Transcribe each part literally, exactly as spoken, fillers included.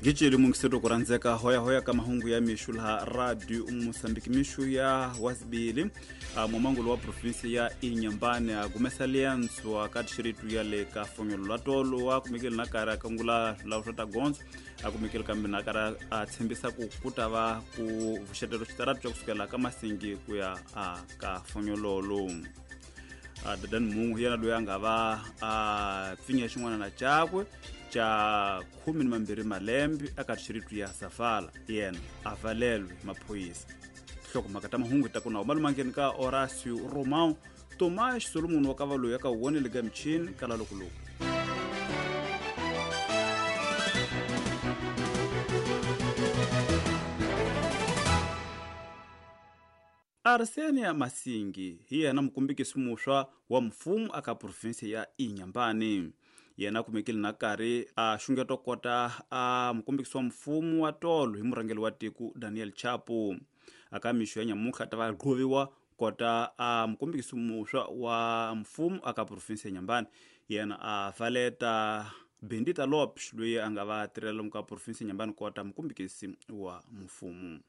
Giceli mungiseto kuranzeka hoya hoya ka mahungu ya mixu laha radio Mosambiki mixu ya wasibili mumangulo wa provinsi ya Inhambane a gumesa liantswa ka dixiritu ya le ka fonyolo la tolo wa kumekile na karhi a kangula swilawu swa ta gondzo a kumekile kambe na karhi a tshembisa ku ku ta va ku vuxetelo xitaratu xa kusukela ka Masingi ku ya a ka fonyololo. Dadani mungu hi yena loyi a nga va a pfinya xin'wana na cakwe xa khume ni mambirhi malembe eka dixiritu ya Safala yena a valelwe maphorisa. Nhlokomhaka ta mahungu ta ku na malumangeni ka Horacio Romão Tomás Solomon wa ka valoyi aka wonele ka michini kala lokoloku. Arsenia Masingi hi yena mukumbikisi muxwa wa mfumo aka provinsi ya Inhambane. Yena kumekile na karhi a xungeto kota a mukumbikisi wa mfumo wa tolo hi murhangeri wa tiko Daniel Chapo. Aka mixo ya nyamutlha ta va gqoviwa kota a mukumbikisi muxwa wa mfumo aka provinsi ya Inhambane. Yena a valeta Bendita Lopes loyi a nga va tirhela ka provinsi ya Inhambane kota mukumbikisi wa mfumo.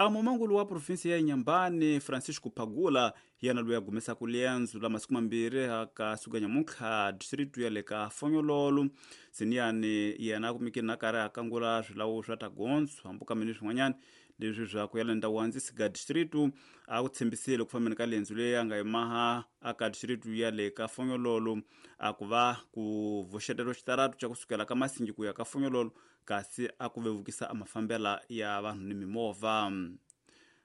A mumangulu wa provinsi ya Inhambane Francisco Pagula yena loyi a gumesaka liendzo la masiku mambirhi ka suka nyamutlha district ya le ka Fonyololo. Siniyani yena a kumekile na karhi a kangula swilawu swa ta gondzo hambuka mini swin'wanyana leswi swa ku yela ndhawu andzisi ka district a ku tshembisile ku fambeni ka liendzo leyi a nga yimaha aka district ya le ka Fonyololo a ku va ku vuxetelo xitaratu xa kusukela ka Masingi ku ya ka Fonyololo kasi a ku vevukisa a mafambela ya vanhu ni mimovha.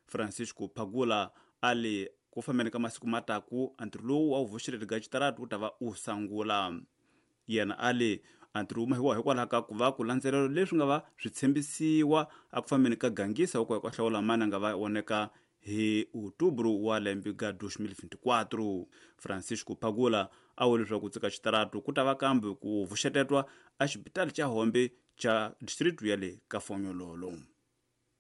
Francisco Pagula a li ku fambeni ka masiku mataku antirho lowu wa wu vuxetelo ka xitaratu wu ta va u sangula. Yena a li antirho wu mahiwa hikwalaho ka ku va ku landzelela leswi nga va swi tshembisiwa a ku fambeni ka gangisa wa ku ya ku hlawula mani a nga va voneka hi outubro wa lembe ga dois mil vinte e quatro. Francisco Pagula a vule leswaku tsika xitaratu ku ta va kambe ku vuxetetwa a xibitali xa Hombe xa district ya le ka Fonyololo.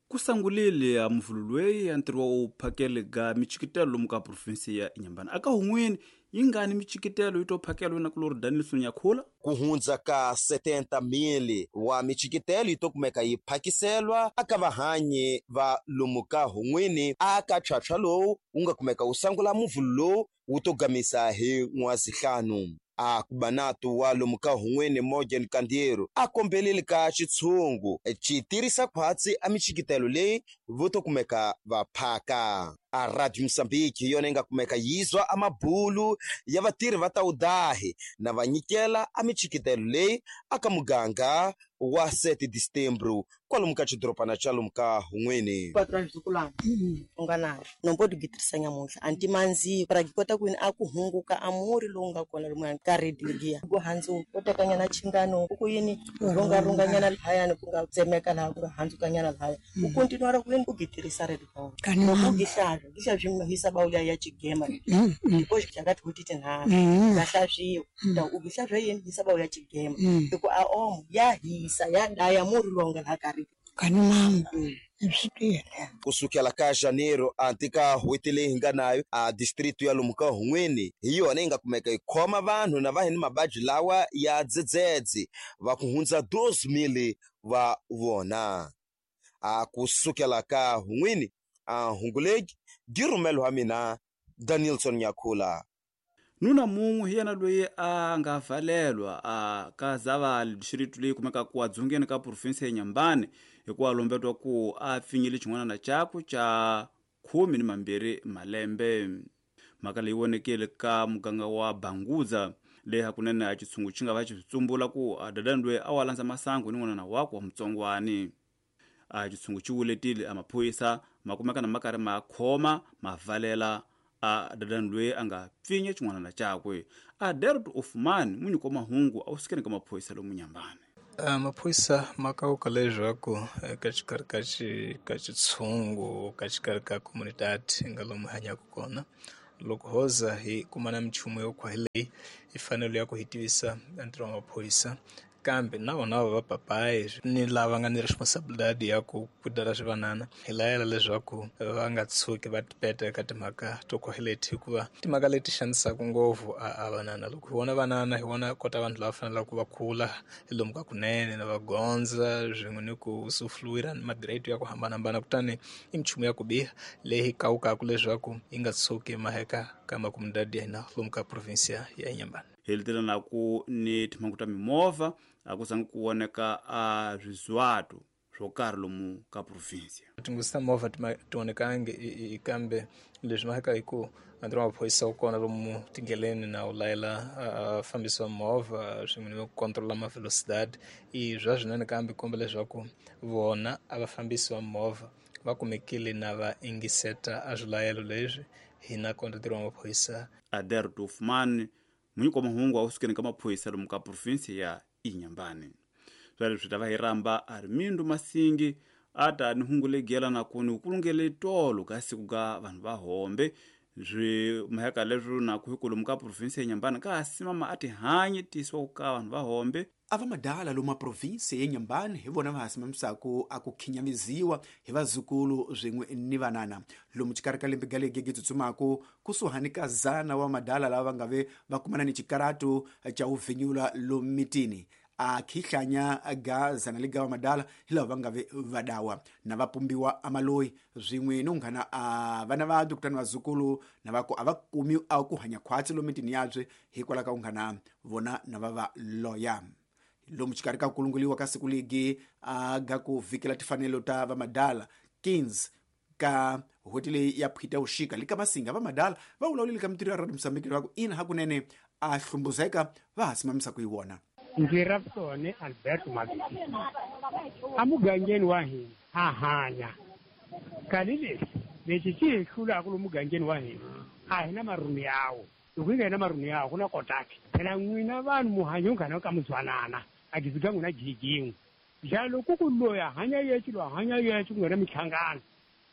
Ku sangulile a muvulu loyi ya ntirho wa u phakele ga michikitelo lomu ka provinsi ya Inhambane. Aka hun'wini yi ngani michikitelo yi to phakelo na kulori Danielson Nyakhula? Ku hundza ka setenta mil wa michikitelo yi to kumeka yi phakiselwa aka vahanyi va lomu ka hun'wini aka tlhwatlhwa lowu wu nga kumeka wu sangula muvulu lowu wu to gamisa hi n'wazihlanu. A kubanatu wa lomu ka hun'wini Morgan Kandiero a kombelile ka xitshungu xi tirhisa khwatsi a michikitelo leyi vo to kumeka va phaka. A Radio Mozambique hi yona yi nga kumeka yizwa a mabulu ya vatirhi va ta udahi na va nyikela a michikitelo leyi aka muganga wa sete de setembro kwalomu ka xidorobana xa lomu ka hun'wini. Patwa mzukulwana u nga na nombo di gitirisa nyamutlha anti manzi para kota ku a ku hunguka amuri lowu nga kona lomu ka radio liya ku handzu u tekanyana chingano ku yini runga runganyana lahayani ku nga tsemeka laha ku nga handzukanyana lahaya u continue ku yini ku gitirisa radio loko u gihlala gihlala swi hisa bawuya ya chigema ko xakati ku titi nharhu gahlaswiwa ta u gihlala yini hisa bawuya chigema hi ku a om ya hisa ya daya muri lowu nga laha ka kani mama swi kusukela ka janeiro anti ka n'hweti leyi hi nga nayo a district ya lomu ka hun'wini hi yona yi nga kumeka yi khoma vanhu na va hi ni mavabyi lawa ya dzedzedze va ku hundza doze mil va vona. A kusukela ka hun'wini a hunguleki dirumelo wa mina Danielson Nyakhula. Nuna mun'we hi yena loyi a nga valelwa a ka Zavali district leyi kumekaka ku dzongeni ka provinsi ya Inhambane hikuva lombetwa ku a pfinyile xin'wana na cakwe xa khume ni mambirhi malembe. Mhaka leyi vonekile ka muganga wa Banguza leyi hakunene a xitshungu xi nga va xi tsumbula ku a dadani loyi a wa landza masangu ni n'wana wakwe wa mutsongwani. A xitshungu xi wuletile a maphorisa ma kumeka na ma karhi ma khoma ma valela a dadani loyi a nga pfinya xin'wana na cakwe. A Derot Ofman munyiko wa mahungu a wu sukeni ka maphorisa lomu Nyambane. Uh, maphorisa ma kauka leswaku eka xikarhi ka xi ka xitshungu ka xikarhi ka comunidade nga lomu hanyaka kona loko hoza hi kumana minchumu yo khwa leyi hi fanele ya ku hi tivisa ntirho wa maphorisa Kambe na vona va papayi ni lava nga ni responsibility ya ku kudala swivanana hi layela leswaku va nga tshuki va tipeta eka timhaka to leti, hikuva timhaka leti xanisaka ngopfu a vanana. Loko hi vona vanana hi vona kota vanhu lava faneleke va kula hi lomu ka kunene na va gondza swin'we ni ku sufluwira ni magrade ya ku hambanahambana, kutani i minchumu ya ku biha leyi kawukaka leswaku yi nga tshuki maheka ka makomunidadi ya hina lomu ka provinsia ya Inhambane. Helitela na ku ni timhangu ta mimovha a ku zangi ku voneka a swizwato swo karhi lomu ka provinsia. Tinghozi ta movha ti vonekangi, kambe leswi maheka hi ku ntirho wa maphorisa wu kona lomu tindleleni na wu layela fambisi wa movha swin'we ni ku controla ma velocidade i bya swinene, kambe komba leswaku vona a vafambisi va movha va kumekile na va ingiseta a swilayelo leswi hina kona ntirho wa maphorisa. Ader Tufman munyiki wa mahungu a usukeni ka maphorisa lomu ka provinsia ya Inhambane. Swa leswi ta va hi ramba Armindo Masingi a ta ni hungu legela na ku ni kulungele tolo ka siku ka vanhu va hombe swi maheka leswi na ku hikolomu ka provinsia ya Inhambane ka simama a tihanyi tisiwa ka vanhu va hombe. A va madala lomu provinsia ya Inhambane hi vona va hasimamisaku a ku khinyamiziwa hi vazukulu swin'we ni vanana lomu xikarhi ka lembe ga legi tsutsumaku kusuhani ka zana wa madala lava va nga ve va kumana ni xikaratu xa uvhinyula lomu mitini a khihlanya ga zana liga wa madala hi lava va nga ve vadawa na va pumbiwa amaloyi swin'we ni unghana a vana va kutani vazukulu na va ku a va kumi a ku hanya khwatsi lomu mitini yabye hikwalaho ka unghana vona na va va loya. Lomu xikarhi ka kulunguliwa ka siku ligi a ga ku vhikela tifanelo ta vamadala quinze ka hweti leyi ya phita uxika lika masinga vamadala va vulavulile ka mitirho ya Radio Mozambique leswaku ina hakunene a hlumbuzeka va ha simamisa ku yi vona. Ndzi Rapsone Alberto Mabisi emugangeni wa hina ha hanya kani lexi lexi xi hi hlulaka lomu mugangeni wa hina a hi na marhunu yawo. Loko hi nga hi na marhunu yawo ku na kotaki phela n'wina vanhu muhanyo nghana ka muzwanana a giziga n'wina jijin'we njalo ku ku loyi a hanya yexe loyi a hanya yexe ku nga na minhlangano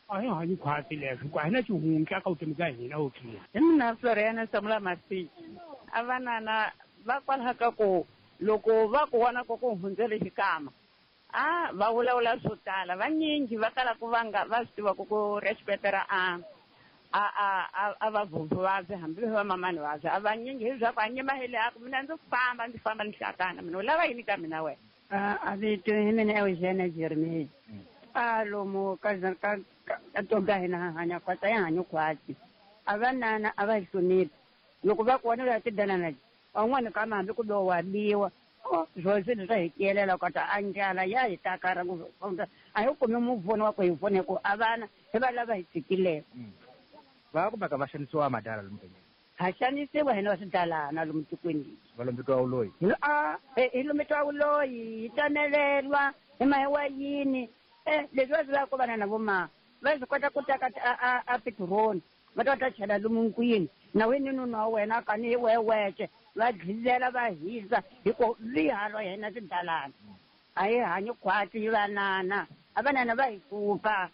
a hi hanyi khwatsi leswo ku a hi na xihundla ka vutomi bya hina wo tliya. Hi mina Floriana Samula Masiki a vanana va kwalaho ka ku loko va ku vona ku ku hundzele xikama a va vulavula swo tala vanyingi va kala ku va nga va swi tiva ku ku respectera a a a a va vhovho vabye hambi va mamani vabye a vanyingi hi swa ku a nyima hi le a ku mina ndzi famba ndzi famba ni hlakana mina u lava yini ka mina wena. A vito hi mina Eugene Jeremiah a lomu ka ka ka toga hina hanya khwatsi a hi hanyi khwatsi a vanana a va hi hloniphi loko va ku vona la tidanana van'wani kama hambi ku lo wa biwa swo swilo swa hi tiyelela kota a ndlala ya hi takara a hi kumi mupfuni wa ku hi pfuna hi ku a vana hi va lava hi tshikileko. Va kumeka va xanisiwa madala lomu ha xanisiwa hina va swidalana lomu tikweni lexi va lombetiwa vuloyi a hi lombetiwa vuloyi hi tamelelwa hi mahiwa yini e leswi va swi lavaka ku vana na voma va swi kota ku teka a a petiroli va ta va ta chela lomu nkwini na wini nuna wa wena kani hi wehe wexe va dlilela va hisa hi ku vihalo hina swidalana a hi hanyi khwatsi hi vanana a vanana va hi hlupha.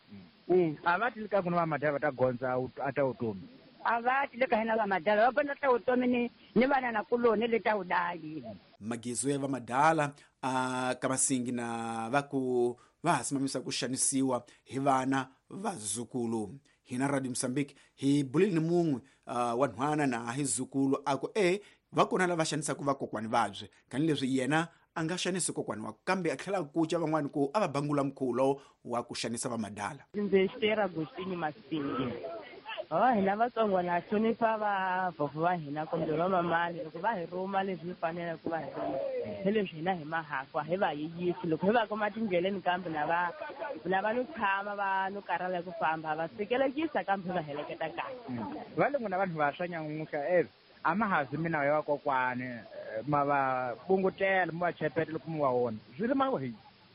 A va ti ka ku na vamadala va ta gondza a ta vutomi a va ti le ka hina vamadala va gondza ta vutomi ni ni vanana kuloni le ta vudayi. Magizo ya vamadala a ka masingi na va ku va ha simamisa ku xanisiwa hi vana vazukulu. Hina Radio Mozambique hi bulile ni mun'we uh, wa nhwana na hi zukulu a ku e va kona lava xanisaka vakokwani vabye kani leswi yena a nga xanisi kokwani wa kambe a tlhela kuca van'wani ku a va bangula mukhulo wa ku xanisa vamadala. Ndzi Esther Agostini Masingi. Oh, hina vatsongo na hlonipha vavhovho va hina kumbe vamamani loko va hi rhuma leswi faneleke ku va hi rhuma hi leswi hina hi mahakwa hi va yiyisi loko hi va kuma tindleleni kambe na va na va no tshama va no karhala ku famba va sikelekisa kambe va heleketa kahle. Va le n'wina vanhu vantshwa nyamuntlha e a ma ha zi mina ya vakokwani ma va bungutela mi va chepeta loko mi va vona swi ri ma hi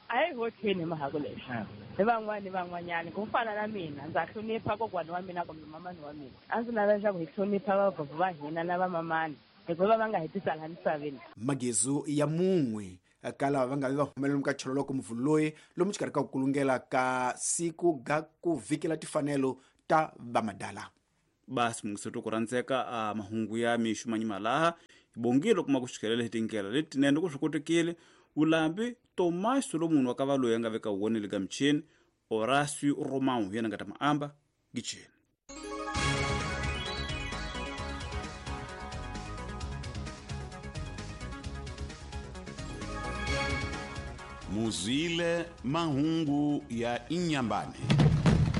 a hi hotheni hi mahako leswi hi van'wani ni van'wanyani ku fana na mina ndza hlonipha kokwani wa mina kumbe mamani wa mina a ndzi lava leswaku hi hlonipha vavhovho va hina na vamamani hikuva va nga hi tisa laha misaveni. Magizo ya mun'we ka lava va nga vi va humelela ka cholo loko muvulu loyi lomu xikarhi ka ku kulungela ka siku ga ku vhikela tifanelo ta vamadala. Basi mungiseto ku rhandzeka a mahungu ya mixo manyima laha hi bongile kuma ku xikelela hi tindlela letinene ku swi kotekile Ulambi Tomás Solomon wa ka loyi a nga veka wona le ka michini Horacio Romão yena nga ta maamba gicheni. Muzwile mahungu ya Inhambane.